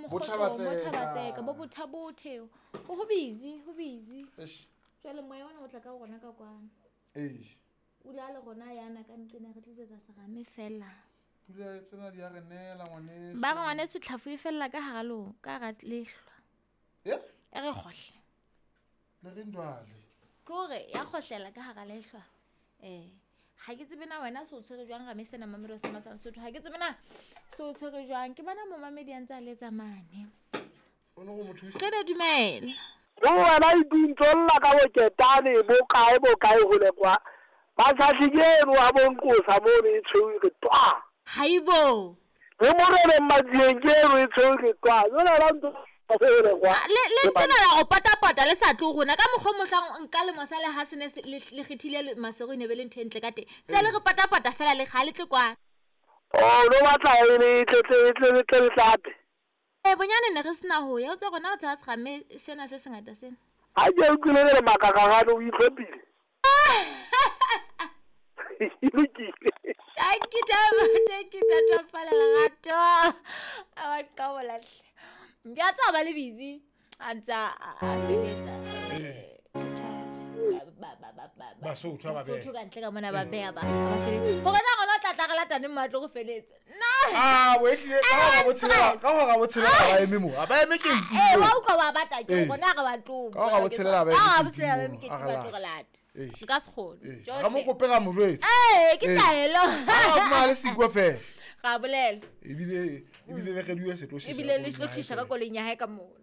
Bo Mokgohlong, bo Thaba Thabatseka, Tseka. bo Bothabothe. Go busy, go busy. Eish. Jwale moya ona o tla ka rona ka kwana. Eish. O ile a le rona yana ka nqena re tlisetsa serame fela. Pula tsena di a re neela ngwaneso. Ba re ngwaneso tlhafu e fella ka hara lo, ka hara lehlwa. Eh? E re kgohle. Le re ndwale. Ke hore ya kgohlela ka hara lehlwa. Ha ke tsebe na wena se o tshwere jwang rame sena mamedi wa Sema sa Lesotho. Ha ke tsebe na se o tshwere jwang. Ke bona momamedi a ntse a letsa mane. O no go mo thusa. Re ne dumela. Ho wena e dintsolla ka boketane bo kae bo kae hole kwa. Ba tshahli ke eno wa bonqosa mono e tshweu e re twa. Haibo. Le moreleng matsieng ke eno e tshweu e re twa. Jwale wena o ntso hole kwa. Le ntse na la go patapata le sa tlo rona ka mokgwa o mohlang nka le mosale ha se ne se le kgethile le Maseru e ne be le ntho e ntle ka teng. Tse le re patapata fela le ga le tle kwana. Oh, no batla e le tle tle tle tle tle tlape. Bonyane ne re sena ho ya o tsa rona re tshaba serame sena se sengata sena. Ha ke utlwile le makakagane o itlhophile. E lokile. Thank you, Taba. Thank you, Tata Phala Lerato. A ba qabola hle. Ke a tsaba le busy. A ntse a feletsa. Basotho ba beha. Basotho ka ntle ka mona ba beha ba ba feletsa. Hore na rona tla tla re latane mmatlo go feletsa. Na. Ah, o ehlile ka hora botshelela, ka hora botshelela ba eme mo. A ba eme ke ntimo. Wa utlwa wa bata ke rona re ba tlo. Ka hora botshelela ba eme. Ka hora botshelela ba eme ke ba tlo re lata. Nka se kgone. Ga mo kope ga mo jwetse. Ke taelo. Ha o le sikwa fela. Ga bolela. Ebile le re diwe se tlo Ebile le tlo thisha ka koloing ya hae ka mona.